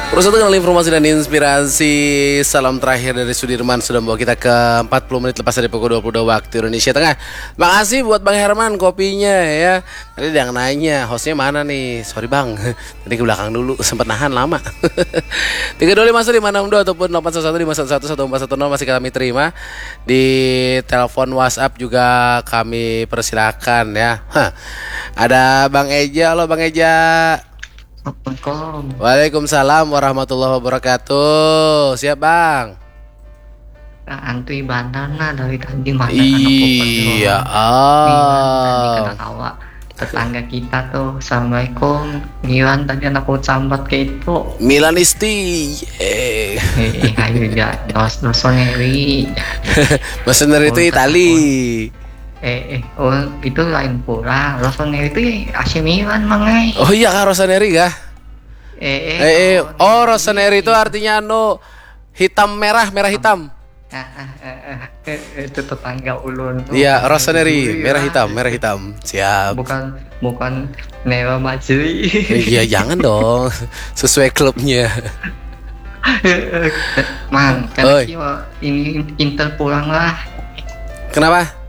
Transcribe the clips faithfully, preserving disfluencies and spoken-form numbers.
Terus itu kenal informasi dan inspirasi. Salam terakhir dari Sudirman sudah membawa kita ke empat puluh menit lepas dari pukul dua puluh dua waktu Indonesia Tengah. Makasih buat Bang Herman kopinya ya. Tadi ada yang nanya, hostnya mana nih? Sorry Bang, tadi ke belakang dulu, sempat nahan lama. Tiga dua lima satu lima enam dua ataupun delapan satu satu lima satu satu satu empat satu nol masih kami terima. Di telepon WhatsApp juga kami persilakan ya. Hah. Ada Bang Eja, halo Bang Eja. Assalamualaikum. Waalaikumsalam warahmatullahi wabarakatuh. Siap Bang? Nah, antui banar nah dari tadi mata Iya ah. Ketawa. Tetangga kita tuh, assalamualaikum. Milan tadi anak sambat kayak itu. Milan Isti. Eh. Eh, ayo ya, dos dos ngeri. Bahasa Indonesia itu Itali. Eh, eh, oh itu lain pula. Rossoneri itu ya A C Milan mangai. Oh iya kah Rossoneri kah? Eh, eh, Eh, eh. Oh Rossoneri itu artinya anu hitam merah merah hitam. Ah, ah, ah, ah. Eh, eh, itu tetangga ulun tuh. Iya Rossoneri Dulu merah ya. Hitam merah hitam. Siap. Bukan bukan Nero Majri. Iya jangan dong. Sesuai klubnya. Mang, Oi. Karena ini Inter pulang lah. Kenapa?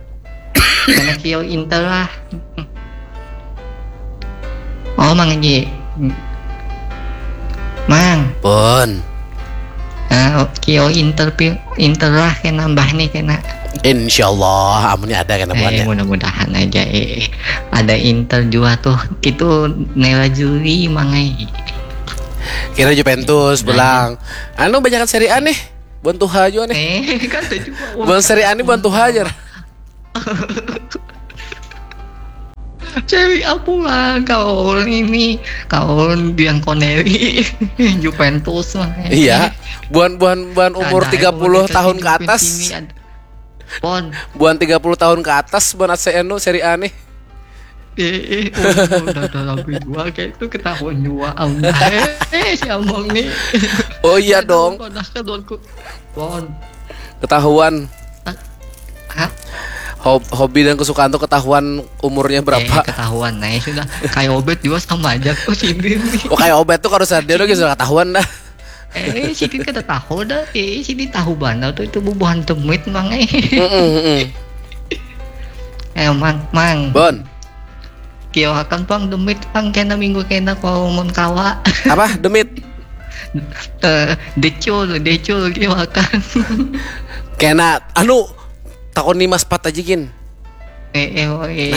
Karena Kio Inter lah. Oh, Mang Haji. Mang, Pun. nah, Kio Inter pi- Inter lah kena nambah nih kena. Insya Allah amunnya ada kena Eh, buatnya. Mudah-mudahan aja eh. Ada Inter juga tuh. Itu Nera Juli mangai. Kira Juventus belang. Anu banyak Serie A nih. Buan tuha juga nih. Eh, kan tuh juga. Buan Serie A nih buan tuha aja. Cewek apa lah kawan ini kawan Bianconeri Juventus mah. Iya. Buan buan buan umur Ada tiga puluh orang tahun ke Juventus atas. ini ada- Pon. Buan tiga puluh tahun ke atas buan A C anu Serie A nih. Eh, eh, oh, udah udah lebih dua kayak itu ketahuan juga Allah. Eh, eh, si Among nih. Oh iya dong. Pernah ke Dorku. Pon. Ketahuan. Hah? Hob- hobi dan kesukaan tuh ketahuan umurnya Eh, berapa. Ketahuan nah ya sudah. Kayak Obet juga sama aja kok si Bim nih. Oh kayak Obet tuh kalau sadar lagi sudah ketahuan dah. Eh, sidin kada tahu dah. Eh, sidin tahu banar tuh itu bubuhan demit mang eh. Mm-mm, mm-mm. Eh, mang, mang. Bon. Kioakan pang demit pang kena minggu kena kalau mun kawa. Apa demit? Eh, decul, decul kioakan. Kena anu takon ni mas pat aja gin. Eh, eh, oh, eh,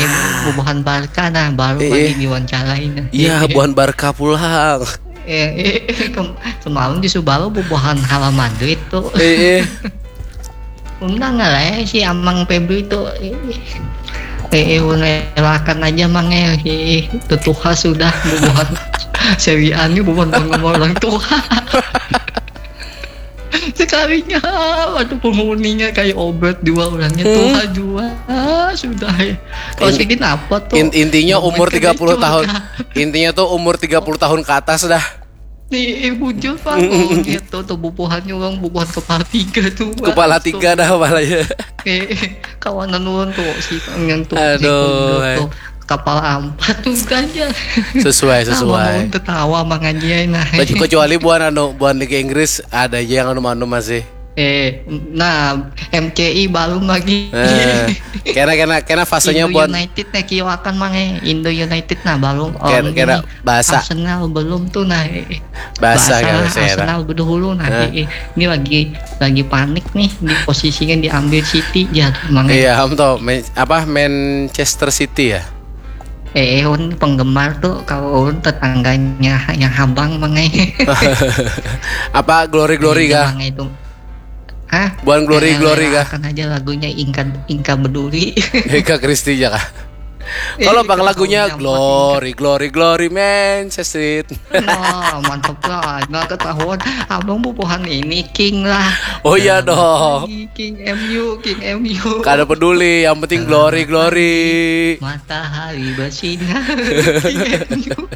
bubuhan Barca nah baru Eh, lagi eh. Diwawancarai nah. Iya buhan Barca pulang. Eh, eh, kem- semalam di Subaru bubuhan Hala Madrid tuh. Eh eh. Undang lah eh, si Amang Febri tuh. Eh, eh, eh, relakan aja mang eh. Eh, eh, tetuha sudah bubuhan. Sewi ani bubuhan penggemar orang tua. Sekalinya waduh penghuninya kayak Obet dua orangnya Hmm. Tuha juga sudah ya. Kalau In- sidin apa tuh? In- intinya umur Obet kan tiga puluh decul tahun. kan. Intinya tuh umur tiga puluh tahun ke atas dah. Nih, eh, bujur pak, oh, gitu tuh bubuhannya orang bubuhan kepala tiga tuh. Pak. Kepala tiga dah kepalanya. Eh, eh, kawanan orang tuh si yang tuh si Aduh, Kundo eh. Tuh kepala empat tuh ganja. Sesuai Sama sesuai. Tertawa mangajian nah. Kecu- Kecuali buan anu buan Liga Inggris ada aja yang anu anu masih. Eh, nah, M C I belum lagi. Eh, kena kena kena fasenya Indo buan United nih kioakan mang eh. Indo United nah belum. Kena- Oh, kena ini bahasa. Arsenal belum tuh nah. Eh, Bahasa kalau saya. Arsenal berdahulu nah. Hah? Eh, eh. Ini lagi lagi panik nih di posisinya diambil City ya mang. Eh, Iya, am toh, Man- apa Manchester City ya? eh, un penggemar tuh kalau un tetangganya yang habang mang eh. Apa glory glory kah? Mang itu. Hah? Buan glory glory kah? Akan aja lagunya ingka ingka beduri. Eka Kristi ya kah? Eh, Kalau bang kita lagunya tahunya glory glory glory Manchester City. Nah, mantap lah. Nah, ketahuan abang bubuhan ini king lah. Oh iya Nah, dong. lagi King M U, King M U. Kada peduli, yang penting glory glory. Matahari bersinar. King M U.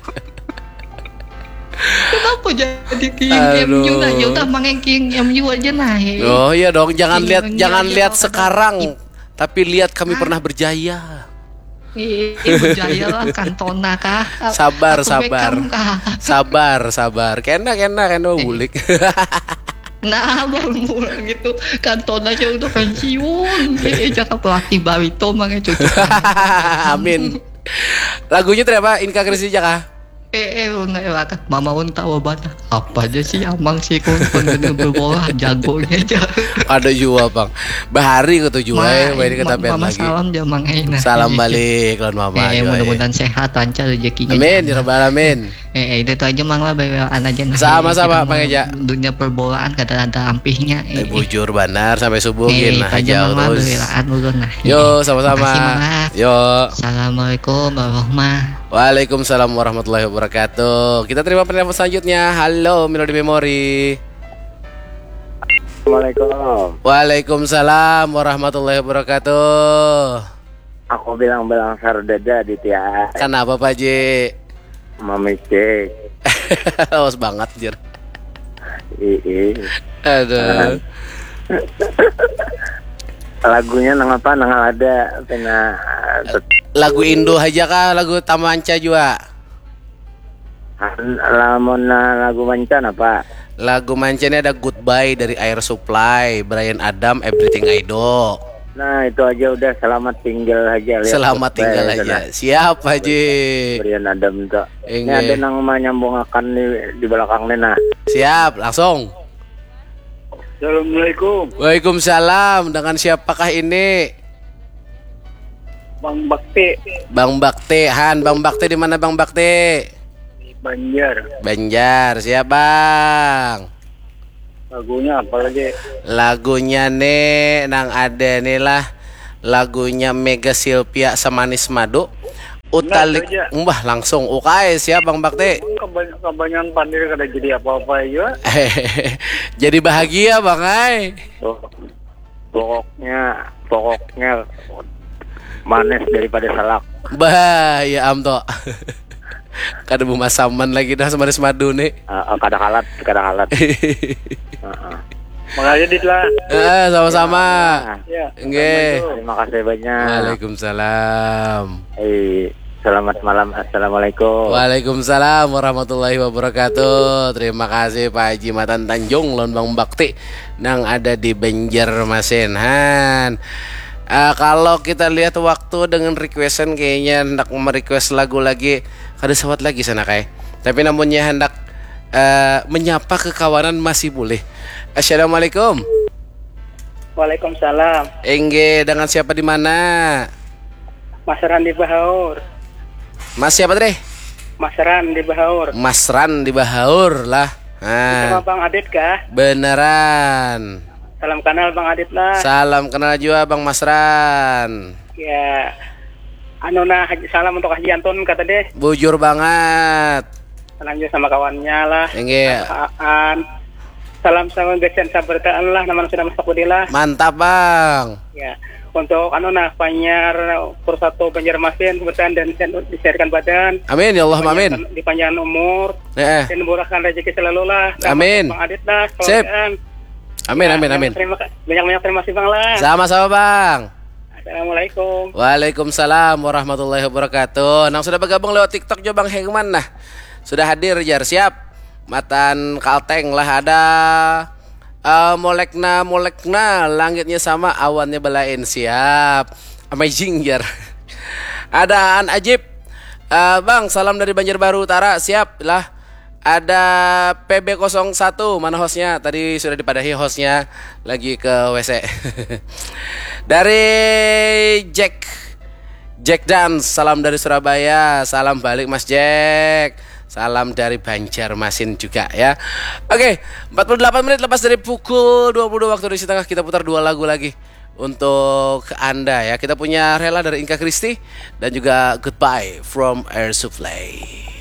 Kenapa jadi King Aduh. M U nah? Ya udah mangai King M U aja nah. Eh. Oh iya dong, jangan King lihat M U jangan aja lihat dong, sekarang, tapi lihat kami pernah berjaya. Ih, berjaya lah, Kantona kah? Sabar, Atau sabar. Beckham kah? Sabar, sabar. Kena, kena, kena bulik. Nah, baru mulai gitu. Kantona aja udah pensiun. Eh, eh, jangan pelatih Barito mah cocok. Amin. Lagunya tadi apa? Inka Kristi aja kah? Eh, eh, lu nggak ewakat. Mama un tahu banyak. Apa aja sih amang sih, kun kun bener bola jagonya aja. Ada juga, Bang. Bahari kata juga, eh, Ma- main ke ma- tapian Mama lagi. Salam aja mang, eh, nah. Salam Iya, balik lawan mama Eh, juga, eh. Mudah-mudahan sehat, lancar rezekinya. Amin, Jangan. ya rabbal alamin. Eh, eh, itu aja mang lah, bawaan aja nah. Sama-sama, Kita Mang mau Eja. Dunia perbolaan kada ada ampihnya. Eh, Eh, eh. Bujur banar sampai subuh Eh, gin itu nah aja aja mang lah, terus. Bawaan ulun nah. Yo, Eh, sama-sama. Makasih mang lah. Yo. Assalamualaikum warahmatullahi. Waalaikumsalam warahmatullahi wabarakatuh. Kita terima penelpon selanjutnya. Halo, Melody Memory. Assalamualaikum. Waalaikumsalam warahmatullahi wabarakatuh. Aku bilang-bilang sardada di tiang. Kenapa, Pak Ji? Mamicik. Los banget, jir. Ii. Aduh. Lagunya nang apa? Nang ada pina Lagu Indo aja kah? Lagu Tamanca juga? Lamun lagu mancan apa? Lagu manca ini ada Goodbye dari Air Supply, Bryan Adam, Everything I Do. Nah, itu aja udah, selamat tinggal aja. Lihat Selamat Goodbye tinggal itu, aja. nah. Siap, Pak Ji. Bryan Adam tuh. Ini Inggih. Ada nang menyambungakan di, di belakang nih, nah. Siap, langsung. Assalamualaikum. Waalaikumsalam. Dengan siapakah ini? Bang Bakti. Bang Bakti, Han. Bang Bakti di mana, Bang Bakti? Banjar. Banjar. Siap, Bang. Lagunya apa lagi? Lagunya nih nang ada nih lah. Lagunya Mega Silvia, Semanis Madu. Utalik. Nah, itu aja. Mbah, langsung. Ukai, siap, Bang Bakti. Kebany- kebanyakan pandir kada jadi apa-apa aja. Jadi bahagia, Bang ai. Tuh. Pokoknya, pokoknya manis daripada salak. Bah, ya am toh. Kada bemasaman lagi dah, Semanis Madu nih. Ah, ah, kada kalat, kada kalat. Heeh. Makasih, Dit lah. Eh, sama-sama. Ya. Nggih. Terima kasih banyak. Waalaikumsalam. Eh, selamat malam. Assalamualaikum. Waalaikumsalam warahmatullahi wabarakatuh. Terima kasih Pak Haji Matan Tanjung lawan Bang Bakti nang ada di Banjarmasin. Han. Eh, kalau kita lihat waktu dengan requestan, kayaknya hendak merequest lagu lagi, kada sawat lagi sana kai. Tapi namunnya hendak eh, menyapa kekawanan masih boleh. Assalamualaikum. Waalaikumsalam. Inggih, dengan siapa di mana? Mas Ran di Bahaur. Mas siapa tadi? Mas Ran di Bahaur. Mas Ran di Bahaur lah. Sama Nah, Bang Adit kah? beneran. Salam kenal Bang Adit lah. Salam kenal juga Bang Mas Ran. Ya. Anu nah, Haji- salam untuk Haji Anton kata deh. Bujur banget. Salam juga sama kawannya lah. Inggih. Aan. Salam sama Gesian Sabertaan lah, nama sudah masuk budi lah. Mantap, Bang. Ya. Untuk anu nah, Panyar Persatu Banjarmasin, Sabertaan dan Sen- disehatkan badan. Amin ya Allah, amin. Dipanjangkan umur Heeh. dan murahkan rezeki selalu lah. Amin. Bang Adit lah, Sip. keluargaan. Amin, amin, Ya, amin. Terima kasih. Banyak-banyak terima kasih Bang lah. Sama-sama, Bang. Assalamualaikum. Waalaikumsalam warahmatullahi wabarakatuh. Nang sudah bergabung lewat TikTok juga, Bang Herman nah. Sudah hadir, jar, siap. Matan Kalteng lah ada. Eh, molekna, molekna, langitnya sama, awannya belain, siap. Amazing, jar. Ada An Ajib. Eh, Bang, salam dari Banjarbaru Utara, siap lah. Ada P B kosong satu, mana hostnya? Tadi sudah dipadahi hostnya, lagi ke W C. Dari Jack, Jack Dance, salam dari Surabaya. Salam balik Mas Jack. Salam dari Banjarmasin juga ya. Oke, empat puluh delapan menit lepas dari pukul dua puluh dua waktu Indonesia Tengah, kita putar dua lagu lagi untuk Anda ya. Kita punya Rela dari Inka Kristi dan juga Goodbye from Air Supply.